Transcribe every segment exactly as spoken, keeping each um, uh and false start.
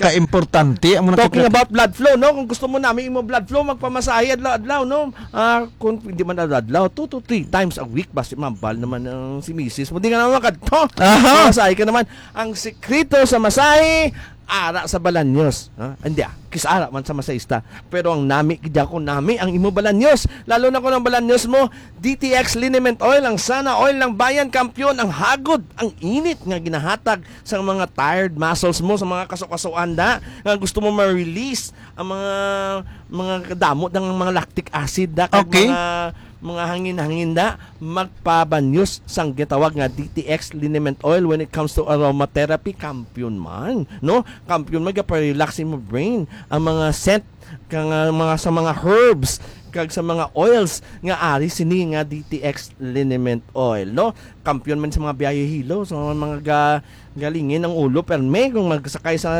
kaimportante ang mga Talking about blood flow, no? Kung gusto mo nami imo blood flow, magpamasahe adlaw-adlaw, no? Ah, kung hindi man adlaw-adlaw, two to three times a week, basi mambal naman ang si misis mo. Di ka naman makadto. Aha. Masahe ka naman. Ang sikreto sa masahe, ara sa balanyos. Ha? Hindi ah, kis ara man sa masahista. Pero ang nami, gid ako, nami ang imo balanyos. Lalo na kung ang balanyos mo, D T X liniment oil, ang sana oil ng bayan, kampiyon, ang hagod, ang init nga ginahatag sa mga tired muscles mo, sa mga kasukasuan da, nga gusto mo ma-release ang mga, mga kadamo ng mga lactic acid da, kag Okay. mga, mga hangin-hangin da, magpabanyos sang gitawag nga D T X liniment oil. When it comes to aromatherapy, kampiyon man, no? Kampiyon man, gapa-relax imo brain. Ang mga scent, kang, ah, mga, sa mga herbs, kag sa mga oils nga ari sini nga D T X liniment oil, no? Kampiyon man sa mga biyahe hilo, sa mga ga-, galingin ang ulo, permi kung magsakay sa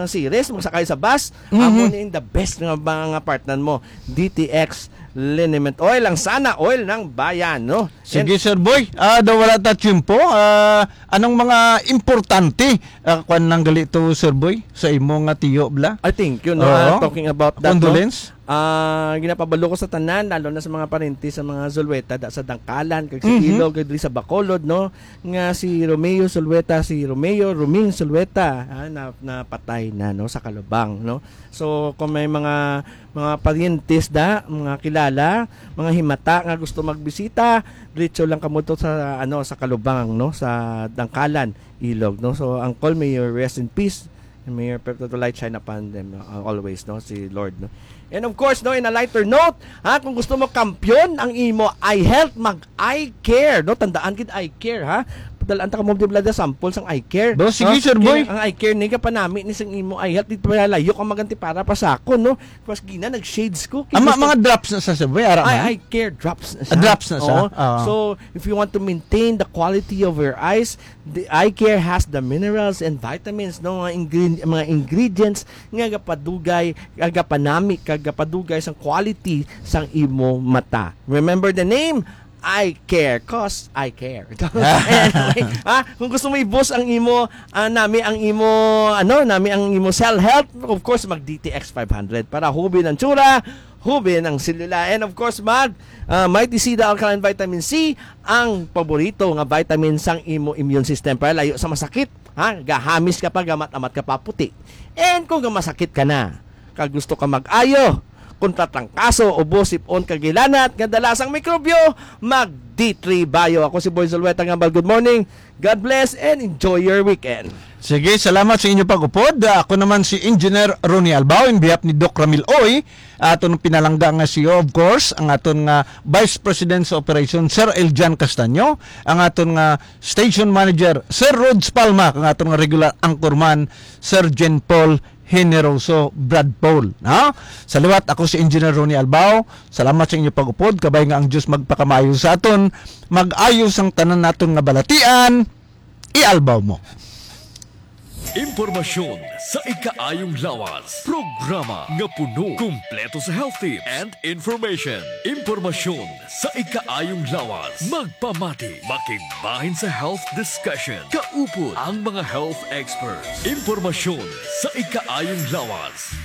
series, magsakay sa bus, Mhm. amo ni the best nga mga partner mo, D T X liniment oil, ang sana oil ng bayan, no? Sige, And Sir Boy. Ah, daw wala ta tiyempo. Ah, anong mga importante, ah, kwan lang gali to, Sir Boy, sa imo nga tiyo, bla? I think, you know, Oo. ah, talking about that, no? Condolence? Ah, ginapabalo ko sa tanan, lalo na sa mga parente sa mga Zulueta da, sa Dangkalan, kag sa Mhm. Ilog, kag diri sa Bacolod, no? Nga si Romeo Zulueta, si Romeo Roming Zulueta, ah, na, napatay na, no, sa Kalubang, no? So, kung may mga, mga parientes da, mga kilala, mga himata nga gusto magbisita, diretso lang kamo to sa, ano, sa Kalubang, no, sa Dangkalan, Ilog, no. So, Uncle, may you rest in peace. And may your perpetual light shine upon them, no? Uh, always, no, si Lord, no. And of course, no, in a lighter note, ha, kung gusto mo kampiyon ang imo eye health, mag eye care, no? Tandaan gid eye care, ha? Padalaan ta kamo, di ba, sample sang eye care, Bo, sige, no? Sir Boy. Kaya ang eye care ni kapanami ni sang imo eye health, di pa layo ka maganti para pa sa ako, no? Mas gina, nag-shades ko. Kay Ama, gusto mga drops na sa, Sir Boy, ara Ay, man? Eye care drops na siya. Ah, drops na siya. Oo. Oo. So, if you want to maintain the quality of your eyes, the eye care has the minerals and vitamins, no, mga ingre-, mga ingredients nga gapadugay, nga gapanami, kag gapadugay sang quality sang imo mata. Remember the name, eye care, 'cause I care. Anyway, ah, kung gusto mo i-boost ang imo, ah, nami ang imo, ano, nami ang imo cell health, of course, mag D T X five hundred para hubin ang tsura, hubin ang selula, and of course, mag, ah, Mighty C, the alkaline vitamin C, ang paborito nga vitamin sang imo immune system para layo sa masakit, ha? Gahamis ka pa, gamat-amat ka pa, puti. And kung gamasakit ka na, kag gusto ka mag-ayo kontra trangkaso, ubo, sip-on, kag hilanat nga dala sang mikrobyo, mag D three Bio. Ako si Boy Zulueta nga, good morning, God bless, and enjoy your weekend. Sige, salamat sa inyo pag-upod. Ah, ako naman si Engineer Ronnie Albao in behalf ni Doc Ramil Oy, aton pinalangga nga C E O, of course, ang aton nga Vice President sa Operation, Sir Eljan Castaño, ang aton nga Station Manager, Sir Rods Palma, ang aton nga regular anchorman, Sir Jen Paul Generoso Brad Paul, no? Sa liwat, ako si Engineer Ronnie Albao. Salamat sa inyo pag-upod. Kabay nga ang Diyos magpakamaayo sa aton. Mag-ayo sang tanan naton nga balatian. I-Albao mo. Impormasyon sa ikaayong lawas. Programa nga puno, kumpleto sa health tips and information. Impormasyon sa ikaayong lawas. Magpamati, makigbahin sa health discussion. Kaupod ang mga health experts. Impormasyon sa ikaayong lawas.